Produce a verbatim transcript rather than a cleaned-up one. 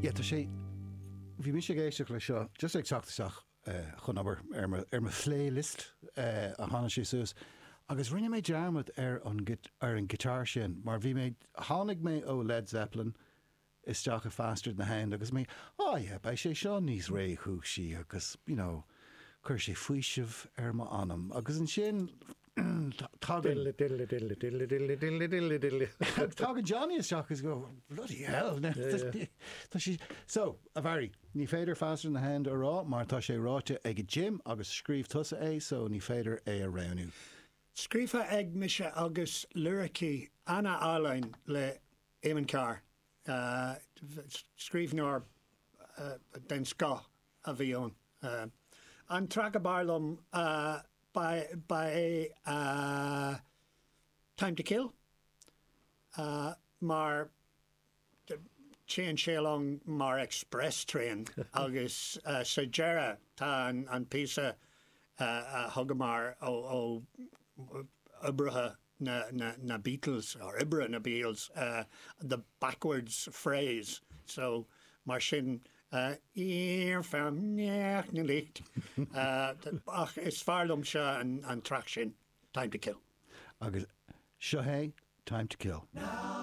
Yeah, tá sé bhí mise ag éisteacht le seo just ag teacht isteach eh, chun obair ar mo ar mo playlist eh, a tháinig sé suas. Agus rinne mé dearmad ar an ar an guitar sin, mar bhí mé tháinig mé ó Led Zeppelin isteach i Faster Than the Hound agus mé oh yeah, beidh sé seo níos réchúisí agus you know, chuir sé faoiseamh ar m'anam agus ansin tagann Tagann Johnny isteach agus go bloody hell Tá sí so a Mhary ní féidir Faster Than the Hound a rá mar tá sé ráite ag Jim agus scríobh tusa é so ní féidir é a roghnú. Scríofa ag mise agus liricí an-álainn le Eamon Carr. Uh, scríbhneoir uh, den scoth a bhí ann. Uh, an traic ab fhearr liom uh, ba ba é uh, Time to Kill uh, mar téann sé along mar express train agus uh, sa deireadh tá an, an píosa uh, a thugamar ó, ó oibrithe na, na, na Beatles or oibre na Beatles uh, the backwards phrase so mar sin uh, licht uh, ach is fearr liom se an, an traic sin Time to Kill. Agus seo é Time to Kill. Now